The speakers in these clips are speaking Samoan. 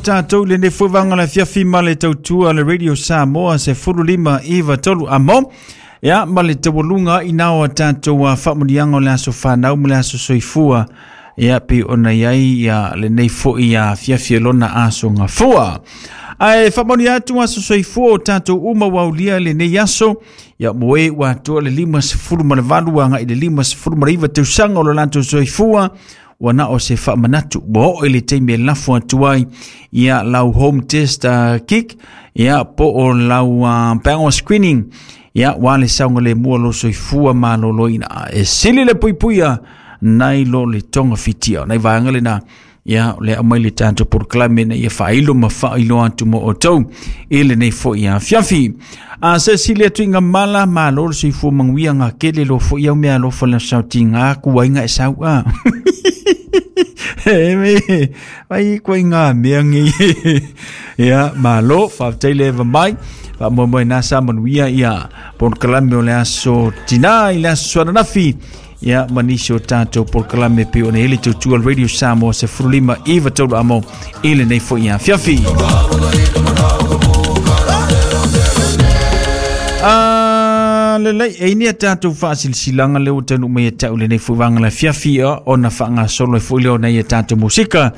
tatou i lenei foi vaega o le afiafi ma le tautua a le Radio Samoa 15 93 amo. Ia, ma le taualuga i nao a tatou faamuniaga o le aso fanau ma le aso soifua. Ia, pe ona iai ia lenei foi afiafi e lona aso gafua. Ae faamanuia atu aso soifua o tatou uma ua aulia lenei aso. Ia mo e ua atoa le 58 agai le 59 tausaga o lo latou soifua, ua na o se faamanatu ua oo i le taimi e lafo atu ai ia lau home test kit, ia po o lau bowel screening, ia ua le saogalemu o lo soifua maloloina e sili le puipuia nai lo le togafitia. O nai vaega lena ia o le aumai le tatou polokalame na ia faailo ma faailoa atu mo outou i lenei foi afiafi. A se sili atu i ngā mala malo le soifua manuia ngā kele lo foi au mea alofa le sautiga kuaiga e sau a. E me, ai koe ngā mea ngi. Ia, malo, faafetai le eva mai. Faamoemoe na sa manuia ia polokalame o le aso tinā i le aso ananafi. Ia, ma nisi o tatou polokalame pe o ne hele tautua Radio Samoa 15 93 amo i lenei foi afiafi. Ah, lelei, e ini a tatou faasilasilaga lea ua taunuu mai ia te au lenei foi vaega le afiafi ona faagasolo ai foi lea o nai a tatou musika.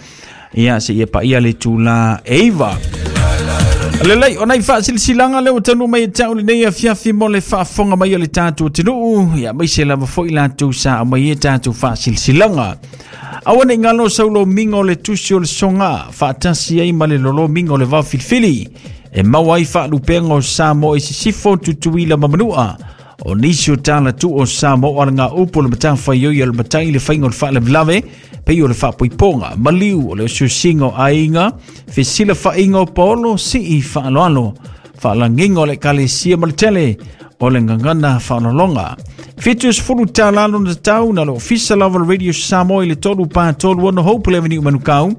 Ia, seia paia le itulā e 9. Lelei, o nai faasilasilaga lea ua taunuu mai ia te au lenei afiafi mo le faafofoga mai o le tatou atunuu, ia aemaise lava foi latou sa aumai ai tatou faasilasilaga. Aua ne i galo saulomiga o le tusi o le soga faatasi ai ma le lolomiga o le vao filifili e maua ai faalupega o Samoa i sisifo, Tutuila ma Manua. O nisi o tala tuu o Samoa o le upu o le matafaioi o le matai le faiga o le faalavelave, pei o le faapoipoga, maliu o le osiosiga o aiga, fesilafaiga o paolo, sii faaaloalo, faalagiga o le ekalesia ma le tele o le gagana faaaloaloga. $70 lona tatau na le ofisa lava o le Radio Samoa i le 3 4 3 6 Hope Avenue, Manukau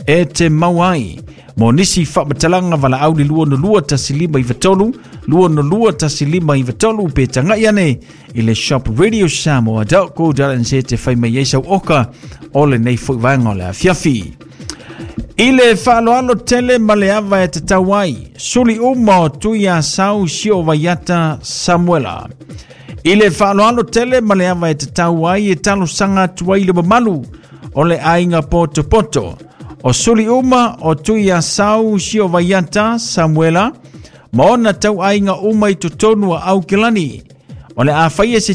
e te maua ai. Mo nisi faamatalaga valaau le 2 1 5 3 2 1 5 3 pe tagai ane i le shop radiosamoa.co.nz te fai mai ai sau oka o lenei foi vaega o le afiafi. I le faaaloalo tele ma le ava e tatau ai, suli uma o Tui Asau Sio Vaiata Samuela. I le faaaloalo tele ma le ava e tatau ai e talosaga atu ai le mamalu o le aiga potopoto. O suli uma o Tui Asau Sio Vaiata Samuela ma ona tauaiga uma i totonu o Aukilani. O le a faia se